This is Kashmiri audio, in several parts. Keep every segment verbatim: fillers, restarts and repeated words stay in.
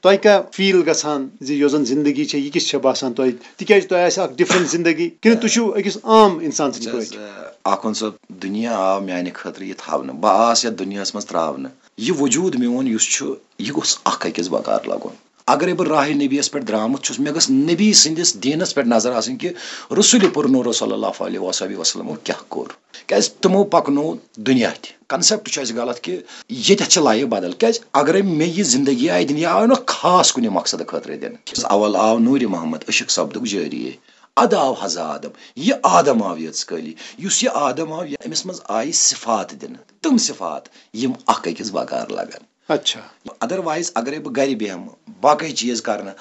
تۄہہِ کیٛاہ فیٖل گژھان زِ یۄس زن زندگی چھےٚ، یہِ کِژھ چھےٚ باسان تۄہہِ؟ تِکیٛازِ تۄہہِ آسہِ اکھ ڈفرنٹ زندگی، کِنہٕ تُہۍ چھِو أکِس عام انسان سٕنٛدۍ وٕچھ حظ، پٲٹھۍ؟ آ، آخوند صٲب، دُنیا آو میانہِ خٲطرٕ یہِ تھاونہٕ۔ بہٕ آس یتھ دُنیاہس منٛز تراونہٕ۔ یہِ وجوٗد میون یُس چھُ، یہِ گوٚژھ اکھ أکِس بکار لگُن۔ اگرے بہٕ راہِ نبیَس پٮ۪ٹھ درامُت چھُس، مےٚ گٔژھ نبی سٕنٛدِس دیٖنس پٮ۪ٹھ نظر آسٕنۍ کہِ رسول پُر نوٗر صلی اللہ علیہ وصحبہ وسلمو کیٛاہ کوٚر۔ کیٛازِ تِمو پکنو دُنیا تہِ۔ کنسیپٹ چھُ اَسہِ غلط کہِ ییٚتٮ۪تھ چھِ لایف بدل۔ کیٛازِ اگرے مےٚ یہِ زندگی آیہِ دِنہٕ، یہِ آو نہٕ خاص کُنہِ مقصدٕ خٲطرٕ دِنہٕ۔ اول آو نوٗرِ محمد، عشق سپدُک جٲری۔ ادٕ آو حضا آدم۔ یہِ آدم آو یٲژ کٲلی۔ یُس یہِ آدم آو، یہِ، أمِس منٛز آیہِ صفات دِنہٕ۔ تِم صفات یِم اکھ أکِس بکار لگن۔ اچھا۔ ادروائز اگرے بہٕ گرِ بیہمہٕ، باقٕے چیٖز کرنہٕ،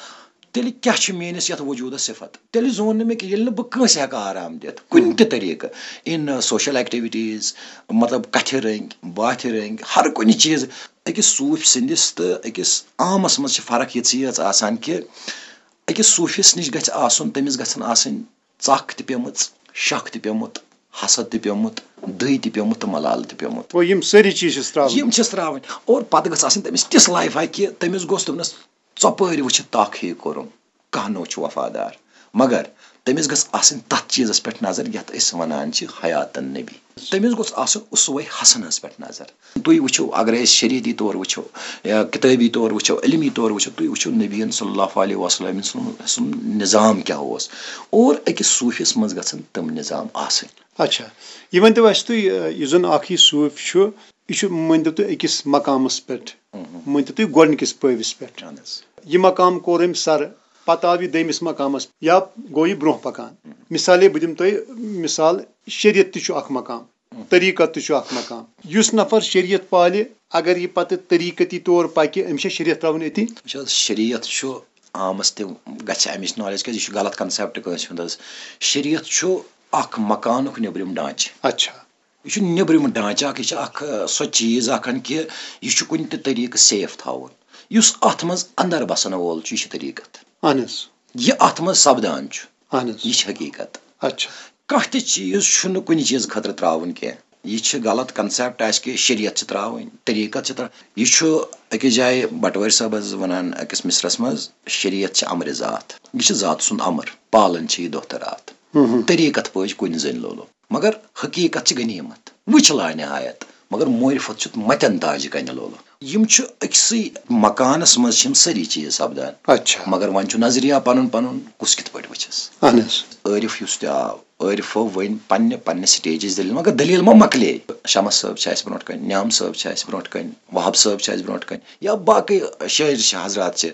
تیٚلہِ کیٛاہ چھُ میٲنِس یتھ وجوٗدس صفت؟ تیٚلہِ زون نہٕ مےٚ کینٛہہ، ییٚلہِ نہٕ بہٕ کٲنٛسہِ ہٮ۪کہٕ آرام دِتھ، کُنہِ تہِ طریٖقہٕ، in social activities، مطلب، کتھِ رٔنگۍ، باتھِ رٔنگۍ، ہر کُنہِ چیٖز۔ أکِس صوٗفۍ سٕنٛدِس تہٕ أکِس عامس منٛز چھِ فرق یِژٕے یٲژ آسان کہِ أکِس صوٗفِس نِش گژھِ آسُن، تٔمِس گژھن آسٕنۍ ژکھ تہِ پیمٕژ، شک تہِ پیومُت، حسد تہِ پیومُت، دٕے تہِ پیومُت تہٕ ملالہٕ تہِ پیومُت۔ گوٚو، یِم سٲری چیٖز چھِس ترٛاوٕنۍ۔ یِم چھِس ترٛاوٕنۍ۔ اور پتہٕ گٔژھ آسٕنۍ تٔمِس تِژھ لایفا کہِ تٔمِس گوٚژھ دَپُن، "ژۄپٲرۍ وٕچھِتھ تَکھ ہیٚیہِ کوٚرُم، کانٛہہ نوٚو چھُ وفادار۔" مگر تٔمِس گٔژھ آسٕنۍ تَتھ چیٖزَس پٮ۪ٹھ نظر یَتھ أسۍ وَنان چھِ حیاتَن نبی۔ تٔمِس گوٚژھ آسُن اسوَے حسنَس پٮ۪ٹھ نظر۔ تُہۍ وٕچھِو، اگرے أسۍ شریعتی طور وٕچھو یا کِتٲبی طور وٕچھو، علمی طور وٕچھو، تُہۍ وٕچھِو نبیَن صلی اللہ علیہ وسلم سُنٛد، سُنٛد نظام کیٛاہ اوس، اور أکِس صوٗفِس منٛز گژھن تِم نظام آسٕنۍ۔ اچھا، یہِ ؤنۍ تو اَسہِ تُہۍ، یُس زَن اکھ یہِ صوٗفۍ چھُ، یہِ چھُ، مٲنۍ تو تُہۍ، أکِس مقامَس پٮ۪ٹھ، مٲنۍ تو تُہۍ، گۄڈٕنِکِس پٲوِس پٮ۪ٹھ۔ اہن حظ۔ یہِ مقام کوٚر أمۍ سر، پتہٕ آو یہِ دوٚیمِس مقامَس، یا گوٚو یہِ برونٛہہ پکان۔ مثالے، بہٕ دِمہٕ تۄہہِ مثال، شریعت تہِ چھُ اکھ مقام، طریٖقت تہِ چھُ اکھ مقام۔ یُس نفر شریعت پالہِ، اگر یہِ پتہٕ طریٖقتی طور پکہِ، أمِس چھا شریعت ترٛاوُن أتی؟ وٕچھ حظ، شریعت چھُ عامس تہِ گژھِ امِچ نالیج، کیازِ یہِ چھُ غلط کنسیپٹ کٲنٛسہِ ہُنٛد حظ۔ شریعت چھُ اکھ مکانُک نیٚبرِم ڈھانچہٕ۔ اچھا۔ یہِ چھُ نیٚبرِم ڈھانچہٕ اکھ، یہِ چھِ اکھ، ٲ، سۄ چیٖز اکھ ہن کہِ یہِ چھُ کُنہِ تہِ طریٖقہٕ سیف تھاوُن۔ یُس اتھ منٛز اندر بسن وول چھُ، یہِ چھُ طریٖقت۔ اہن حظ۔ یہِ اتھ منٛز سپدان چھُ، اہن حظ۔ یہِ چھِ حقیٖقت۔ اچھا۔ کانٛہہ تہِ چیٖز چھُنہٕ کُنہِ چیٖز خٲطرٕ ترٛاوُن کینٛہہ۔ یہِ چھِ غلط کنسیپٹ اَسہِ کہِ شریعت چھِ ترٛاوٕنۍ، طریٖقت چھِ ترٛاوٕنۍ۔ یہِ چھُ أکِس جایہِ بٹوٲرۍ صٲب حظ وَنان أکِس مصرس منٛز، "شریعت چھِ امرِ ذات، یہِ چھِ ذات سُنٛد امر، پالان چھِ یہِ دۄہ تہٕ راتھ۔ ہُم ہُم۔ طریٖقت پٲٹھۍ کُنہِ زٔنۍ لولو، مگر حقیٖقت چھِ غنیٖمت، وٕچھ لا نہایت، مگر معرفت چھُ متٮ۪ن تاجہِ کنہِ لولو۔" یِم چھِ أکسٕے مکانس منٛز چھِ یِم سٲری چیٖز سپدان۔ اچھا۔ مگر وۄنۍ چھُ نظریہ پنُن پنُن، کُس کِتھ پٲٹھۍ وٕچھس۔ اہن حظ۔ عٲرف یُس تہِ آو، عٲرفو ؤنۍ پننہِ، پننہِ سٹیجٕچ دٔلیٖل، مگر دٔلیٖل ما مۄکلے؟ شمس صٲب چھِ اَسہِ برونٛٹھ کَنہِ، نعام صٲب چھِ اَسہِ برونٛٹھ کَنہِ، وہاب صٲب چھِ اَسہِ برونٛٹھ کَنہِ، یا باقٕے شٲعر چھِ، حضرات چھِ،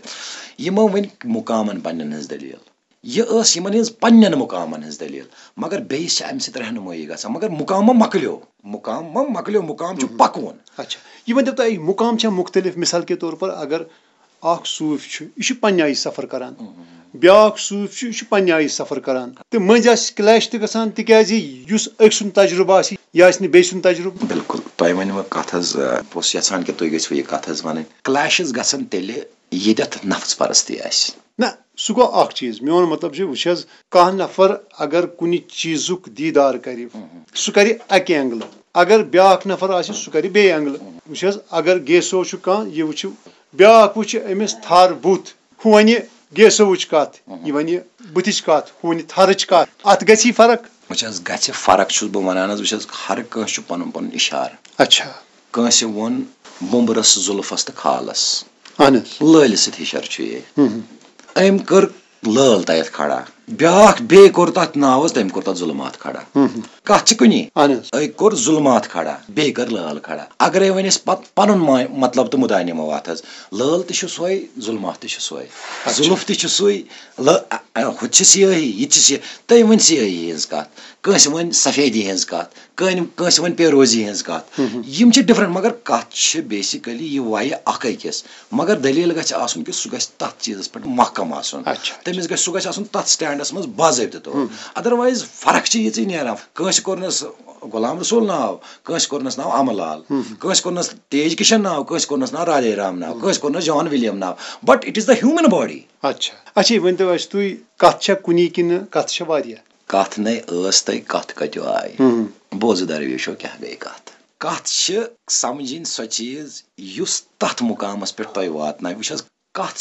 یِمو ؤنۍ مُقامن پننٮ۪ن ہٕنٛز دٔلیٖل۔ یہِ ٲس یِمن ہٕنٛز پننٮ۪ن مُقامن ہٕنٛز دٔلیٖل، مگر بیٚیِس چھِ اَمہِ سۭتۍ رہنمٲیی گژھان۔ مگر مُقام ما مۄکلیو، مُقام ما مۄکلیو، مُقام چھُ پکوُن۔ اچھا، یہِ ؤنۍ تو تۄہہِ، مُقام چھا مُختلف؟ مثال کے طور پر، اگر اکھ صوٗفۍ چھُ، یہِ چھُ پننہِ آیہِ سفر کران۔ بیٛاکھ صوٗفۍ چھُ، یہِ چھُ پننہِ آیہِ سفر کران۔ تہٕ مٔنٛزۍ آسہِ کلیش تہِ گژھان، تِکیازِ یُس أکۍ سُنٛد تجرُبہٕ آسہِ، یہِ آسہِ نہٕ بیٚیہِ سُنٛد تجرُبہٕ۔ بِلکُل، تۄہہِ ؤنِو کتھ حظ، آ، بہٕ اوسُس یژھان کہِ تُہۍ گٔژھِو یہِ کتھ حظ ونٕنۍ۔ کلیشز گژھن تیٚلہِ، ییٚتٮ۪تھ نفس پرستی آسہِ۔ نہ، سُہ گوٚو اکھ چیٖز۔ میون مطلب چھُ، وٕچھ حظ، کانٛہہ نفر اگر کُنہِ چیٖزُک دیٖدار کرِ، سُہ کرِ اکہِ اینگلہٕ۔ اگر بیٛاکھ نفر آسہِ، سُہ کرِ بیٚیہِ اینگلہٕ۔ وٕچھ حظ، اگر گیسو چھُ کانٛہہ، یہِ وٕچھِ، بیٛاکھ وٕچھِ أمِس تھر بُتھ، ہُہ وَنہِ گیسوٕچ کَتھ، یہِ وَنہِ بٕتھِچ کَتھ، ہُہ وَنہِ تھَرٕچ کَتھ۔ اَتھ گژھی فرق؟ وٕچھ حظ، گژھِ فرق چھُس بہٕ وَنان حظ۔ وٕچھ حظ، ہر کٲنٛسہِ چھُ پَنُن پَنُن اِشارٕ۔ اچھا۔ کٲنٛسہِ ووٚن بوٚمبرَس، زُلفَس تہٕ خالَس۔ اَہَن حظ۔ لٲلہِ سۭتۍ ہِشر چھُ یہِ۔ ہُم ہُم۔ أمۍ کٔر لٲل تَتٮ۪تھ کھڑا۔ بیٛاکھ بیٚیہِ کوٚر تَتھ ناو حظ، تٔمۍ کوٚر تَتھ ظُلمات کھڑا۔ ہُم ہُم۔ کَتھ چھِ کُنی۔ اَہَن حظ۔ أکۍ کوٚر ظُلمات کھڑا، بیٚیہِ کٔر لٲل کھڑا۔ اگرے وۄنۍ أسۍ پت-، پَنُن ما-، مطلب تہٕ مُدا نِمو اَتھ حظ، لٲل تہِ چھُ سۄے، ظُلمات تہِ چھُ سۄے، اچھا۔ ظُلُف تہِ چھُ سُے، لٲ-، اَ-، اَ-، ہُہ تہِ چھِ سیٲہی، یہِ تہِ چھِ سیٲہی، تٔمۍ ؤنۍ سیٲہی ہِنٛز کَتھ، کٲنٛسہِ ؤنۍ سفیدی ہِنٛز کَتھ، کٲنۍ-، کٲنٛسہِ ؤنۍ پیروزی ہِنٛز کَتھ۔ ہُم ہُم۔ یِم چھِ ڈِفرنٛٹ، مگر کَتھ چھِ بیسِکٔلی یہِ وَیہِ اَکھ أکِس۔ مگر دٔلیٖل گژھِ آسُن کہِ سُہ گژھِ تَتھ چیٖزَس پٮ۪ٹھ محکم آسُن۔ اچھا۔ تٔمِس گژھِ، سُہ گژھِ آسُن تَتھ سٹینڈَس منٛز باضٲبطہٕ طور۔ ہُم۔ Otherwise فرق چھِ یِژٕے نیران۔ کٲنٛسہِ کوٚرنَس غلام رسول ناو، کٲنٛسہِ کوٚرنَس ناو اَمہٕ لال، ہُم۔ کٲنٛسہِ کوٚرنَس تیج کِشن ناو، کٲنٛسہِ کوٚرنَس ناو رادھے رام ناو، ہُم۔ کٲنٛسہِ کوٚرنَس جان وِلیَم ناو۔ But it is the human body۔ اچھا۔ اچھا، یہِ ؤنۍ تو اَسہِ تُہۍ، کَتھ چھا کُنی کِنہٕ کَتھ چھےٚ واریاہ؟ کَتھ نے ٲس تہٕ کَتھ کَتیو آیہِ؟ ہُم۔ بوزٕ درویشو کیٛاہ گٔے کَتھ؟ کَتھ چھِ سَمجھِنۍ سۄ چیٖز یُس تَتھ مُقامَس پٮ۪ٹھ تۄہہِ واتنایہِ۔ وٕچھ حظ، کَتھ